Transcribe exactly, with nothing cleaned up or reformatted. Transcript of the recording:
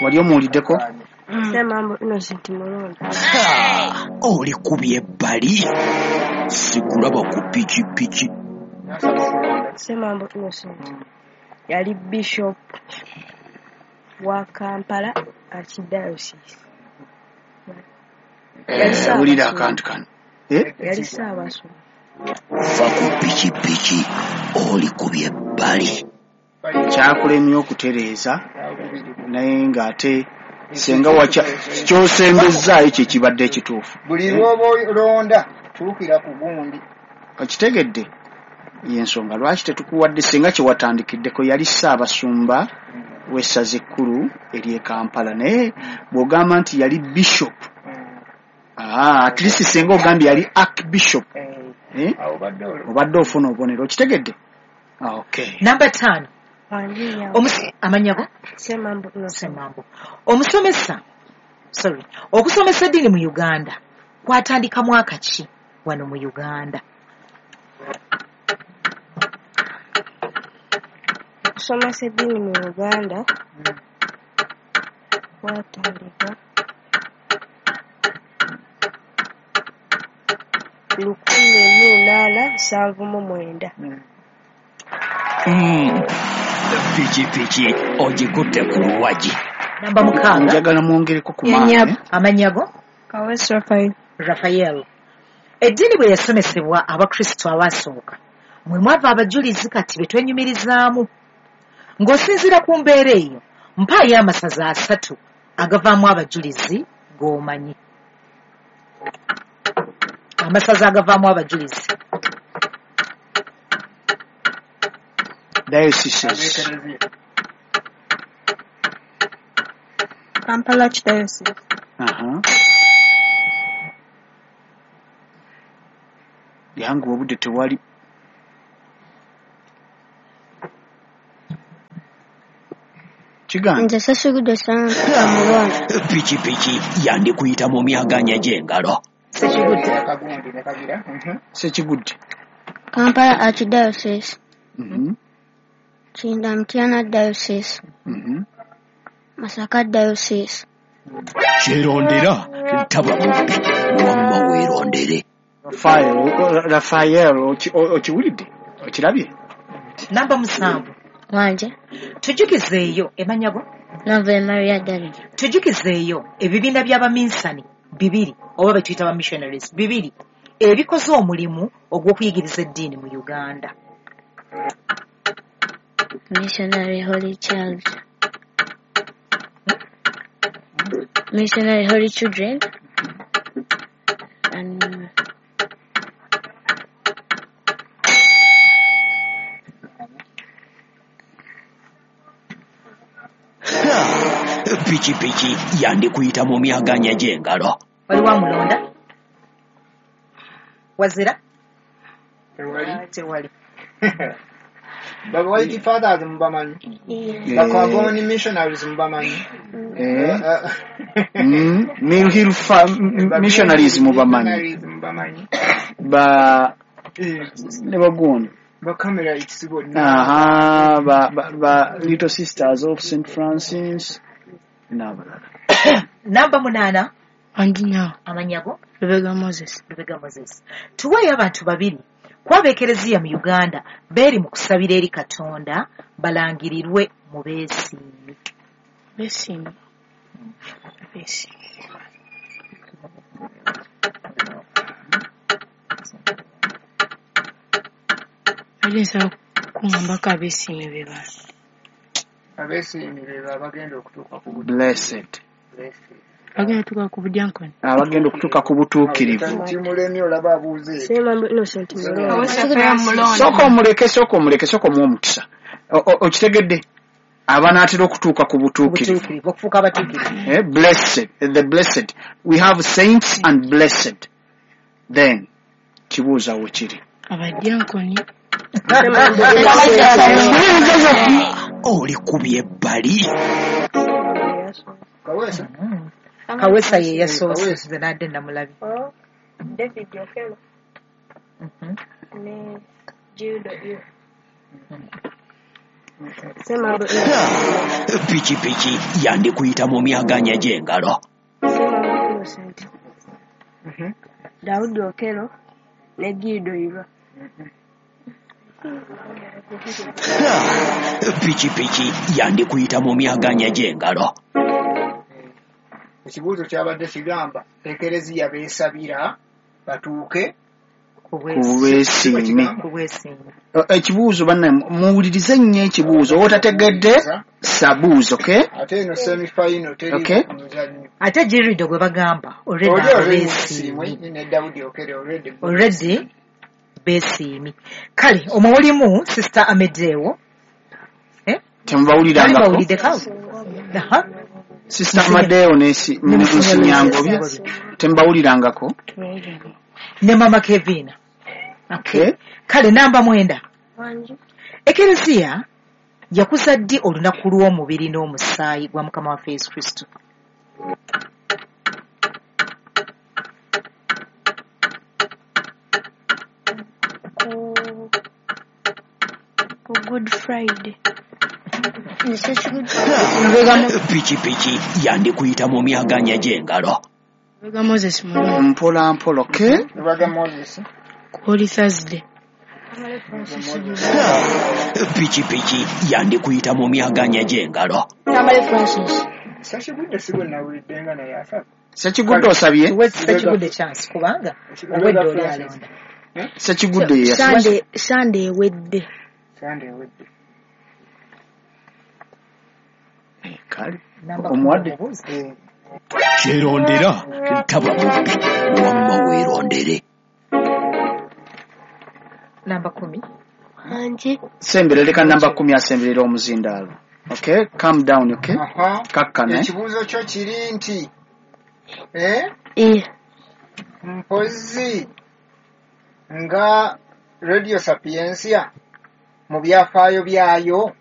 Wali omuwuliddeko? Ssemambo Innocent Mulonda. Oli kubye ebbali, sikulaba ku pikipiki. Ssemambo Innocent yali Bishop wa Kampala Archdiocese. Wulira akantu kano. Yali Ssaabasumba. Va ku pikipiki, oli kubye ebbali. Kyakulemye okutereeza naye ng'ate senga wacha kyosembezaayo kye kibadde ekituufu. Buli lw'oba olonda tuukira ku gundi. Okitegedde? Y'ensonga lwaki tetukuwadde senga kye watandikiddeko. Yali Ssaabasumba w'essaza ekkulu ery'e Kampala, naye bw'ogamba nti yali bishop, ah, at least senga ogambye yali archbishop, eh? Obadde ofuna obubonero. Okitegedde? Okay. Namba ttaano. Amannya go? Ssemambo Innocent. Ssemambo. Omusomesa, sorry, okusomesa eddiini mu Uganda kwatandika mwaka ki wano mu Uganda? Okusomesa eddiini mu Uganda kwatandika lukumi mu munaana nsanvu mu mwenda. Pikipiki ogikutte ku luwagi. Namba mukaaga. Njagala mwongereko ku maanyi. Amannya go? Kaweesi Raphael. Raphael. Eddiini bwe yasomesebwa Abakristo abaasooka, mwe mwava abajulizi kati be twenyumirizaamu. Ng'osinziira ku mbeera eyo, mpaayo amasaza asatu agavaamu abajulizi g'omanyi. Amasaza agavaamu abajulizi. Dioceses. Kampala Archdiocese. Aha. Yangu obudde tewali. Kigambo. Nze Ssekigudde Ssemambo Mulonda. Pikipiki yandikuyita mu myaganya gy'engalo. Ssekigudde. Ssekigudde. Kampala Archdiocese. Mhm. Kinda Mityana Diocese. Mhm. Masaka Diocese. Kyerondera ntaba mubbi, wamma weerondere. Raphael, Raphael, okiwulidde? Okirabye? Namba musanvu. Wanje. Tujukizeeyo emanya go? Nava Maria David. Tujukizeeyo ebibiina by'abaminsani bibiri oba be tuyita ba missionaries bibiri ebikoze omulimu ogw'okuyigiriza eddiini mu Uganda. Missionary Holy Child. Missionary Holy Children. And Pikipiki yandikuyita mu myaganya gy'engalo. Waliwo amulonda? Wazira? Tewali. Tewali. Ba White Fathers mubamanyi. Ba Comboni Missionaries mubamanyi. Eh. Mill Hill Missionaries mubamanyi. Ba ne bagundi. Ba Carmelites bonna. Aha, ba ba Little Sisters of Saint Francis n'abalala. Namba munaana. Andina. Amannya go? Lubega Moses. Lubega Moses. Tuweeyo abantu babiri ku ab'ekereziya mu Uganda beeri mu kusabira eri Katonda balangirirwe mu beesiimi. Beesiimi. Beesiimi. Ate nsaba kuŋŋambako abeesiimi be bano. Abeesiimi be abagenda okutuuka ku Blessed. Bagenda okutuuka ku budyankoni. Abagenda okutuuka ku butuukirivu. Kimulemye olaba abuuze. Ssemambo Innocent Mulonda. Sooka omuleke, sooka omuleke, sooka omuwe omukisa. Okitegedde? Abanaatera okutuuka ku butuukirivu. Okufuuka abatuukirivu. Eh, blessed, the blessed. We have saints and blessed. Then kibuuza we kiri. Abadyankoni. Oli kubye ebbali. Kaweesa. Kaweesa ye yasoose nze nadde namulabye. David Okello. Ne Gildo Iyo. Semambo Innocent. Pikipiki yandikuyita mu myaganya gy'engalo. Semambo Innocent. Mhm. Daudi Okello ne Guido Irwa. Pikipiki yandikuyita mu myaganya gy'engalo. Ekibuuzo kyabadde kigamba ekereziya beesabira batuuke Ku Ku bwesiimi. bwesiimi. Ku bwesiimi. Ekibuuzo bannaye muwulirize nnyo ekibuuzo otategedde sabuuzo, okay? Ate eno semifinal teri Okay. muzannyo. Ate Girido gwe bagamba already Oli abo already beesiimye. musiimwe ne Daudi Okello already. Already beesiimye. Kale omwo mulimu Sister Amedewo. Eh? Temubawulirangako? Bawuliddeko? Aha. Sister Amadeo ne si- Ne ne Musinyangobye. Musinyangobye temubawulirangako? Ne Mama Kevina. Okay. Kale namba mwenda. Wangi. Ekereziya yakuza ddi olunaku lw'omubiri n'omusaayi gwa Mukama waffe Yesu Kristo? Ku ku Good Friday. Pikipiki yandikuyita mu myaganya gy'engalo. Lubega Moses Mulongo. Mpola mpola, okay? Lubega Moses. Ku Holy Thursday. Pikipiki yandikuyita mu myaganya gy'engalo. Tamale Francis. Sekigudde si gwe nawulidde nga naye asaba. Sekigudde osabye? Tuwe Sekigudde chance kubanga obwedda oli alonda. Sekigudde ye yasabye. Sunday Sunday ewedde. Sunday ewedde. Kale. Namba Omuwadde? kumi omubuuze. Kyerondera taba mubbi wamma weerondere. Namba kumi. Wangi. Sembera leka namba kumi asemberera omuzindaalo. Okay, calm down, okay? Aha. Kakkana. Ekibuuzo kyo kiri nti eh? Eh. Mpozzi nga Radio Sapientia mu byafaayo byayo